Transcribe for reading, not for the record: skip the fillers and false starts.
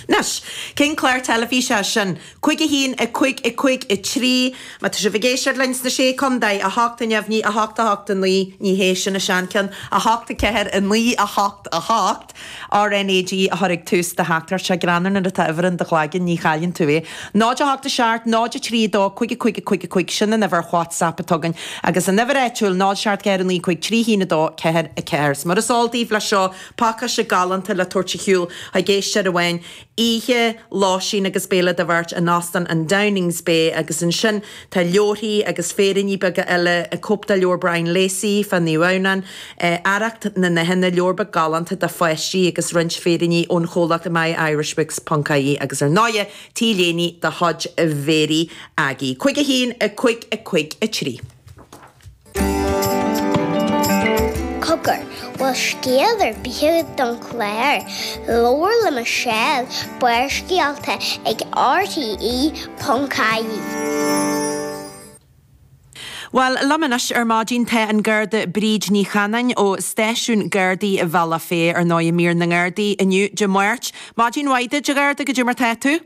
Anois, cén clár teilifíse é sin? 5 1 5 5 3 Má tá sibh ag éisteacht linn sna Sé Contae, 8 neamhní 8 8 9, ní hé sin an seancheann, 8 4 9 8 8, RnaG a chur ag tús do theachtaireacht. Sé greannmhar nuair atá uimhir in do chloigeann, ní chailleann tú é. 0 8 7 0 3 2 5 5 5 5, sin an uimhir WhatsApp atá againn. Agus an uimhir áitiúil, 0 7 4 9 5 3 1 2 4 4. 'S mar is eol daoibh leis seo, pacáiste galánta le tabhairt ar shiúl chuig éisteoir amháin, oíche, lóistín agus béile do bheirt in Óstán an Downings Bay agus ansin tá leabharthaí agus féiríní beaga eile, cóip de leabhar Brian Lacey fá Naomh Adhamhnán, Arracht na nDathanna, leabhar beag galánta do pháistí agus roinnt féiríní ón chomhlacht myirishbooks ponc ie agus ar ndóighe T-léine de chuid Mhéirí Aggie. 5 1 5 5 3. Cogar, bhfuil scéal ar bith agat don chlár? Labhair le Michelle, Barrscéalta ag RTE.ie. Bhuel, liom anois ar maidin tá an Garda Bríd Ní Chanáin ó Stáisiún Gardaí Bhealach Féich, ar ndóigh, mír na nGardaí inniu, Dé Máirt. Maidin mhaith duit, a Gharda, goidé mar tá tú?